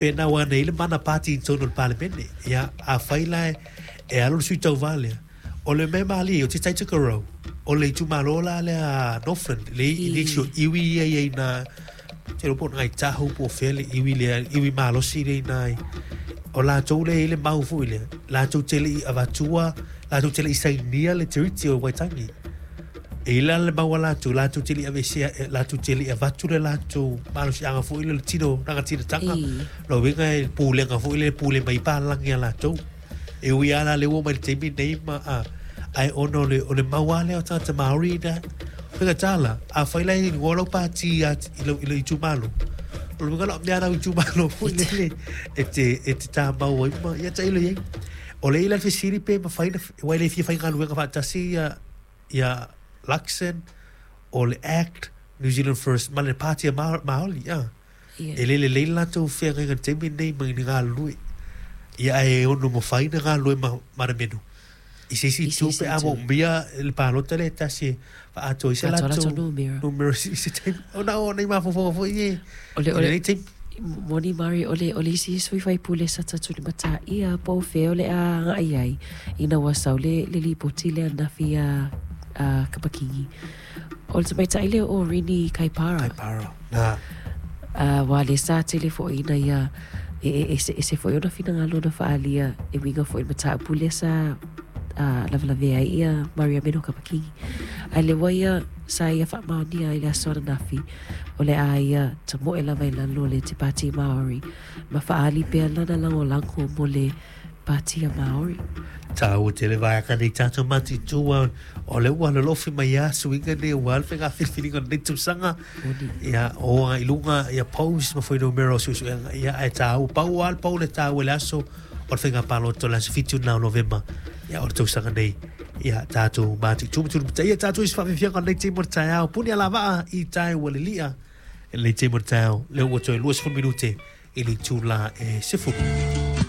Pēnā ua nei le mana pāti i totonu o le Palemene. Ia, afai la e alu le sui tauva lea, o le mea malie, o Te Tai Tokerau, o le itumalo la lea a Northland, le i nisi o iwi ia i ai nā, te iloa po o Ngāi Tahu po o fea le iwi lea, iwi malosi lea i nā, o latou lea e i ai le mau foi lea, latou te le i avatua, latou te le i sainia le Tiriti o Waitangi. E i ai la le mau a latou, latou te le i aveesea, latou te le i avatu le latou malosiaga foi lea o le tino rangatiratanga. Lona uiga e pulega foi lea e pule mai ai palagi a latou. E ui lava la lea ua oo mai i le taimi lenei ma, a, ae ona o le, o le mau lava lea o tagata Māori ina, faigata la, afai la e igoa lau pāti i, i lou, i lou itumalo, o lona uiga la o mea lau itumalo foi lele e te, e te tāmau ai ma, ia tailo i ai. O lea e i ai la le fesili pe mafai ona, aua e le fia faigaluega faatasi ia ia Luxon o le Act, New Zealand First ma le Pāti a Māori, a. Yeah. E le lelei le latou feagaiga i le taimi lenei ma ni galulue. Ia ae ono mafai ona galulue ma Marameno. I se isi itu pe a moomia le palota lea e tasi e faaatoa ai se latou numera i se taimi. Ona o nei mafaufauga foi e i lenei taimi. Moni Mari, o le, o le isi sui faipule sa tatou limataia po o fea o le a agai ai ina ua sau le, le lipoti lea ananafi ia a Kapa-Kingi. O le tamaitai lea o Rini Kaipara. Kaipara, na. Aua lea sa tele foi ina ia e, e, ese, ese foi ona finagalo na faaalia e uiga foi i le mataupu lea sa lavelavea ai ia Mariameno Kapa-Kingi. Ae lea ua ia sa ia faamaonia i le aso ananafi o le a ia tamoe lava i lalo o le Te Pāti Māori ma faaali pea lana lagolago mo le Pāti a Māori. Tāua tele vaega nei tātou matitua o le ua lolofi mai a suiga nei ua le whenga whiriwhiringa o lenei tausaga. Ia, o anga i lunga, ia pous ma fuainumera o suesuega. Ia, ae tāua, pau a le pau le tāua i le aso o le whenga pālota o le aso 7 o Novema. Ia, o le tausaga nei. Ia, tātou matitua ma tū Ia, tātou i se whaawhiwhianga o lenei taimi o le taeao. Puni a la vaa i tae ua lilia. I lenei taimi o le taeao, lea ua toe 20 minute i le itula e 10.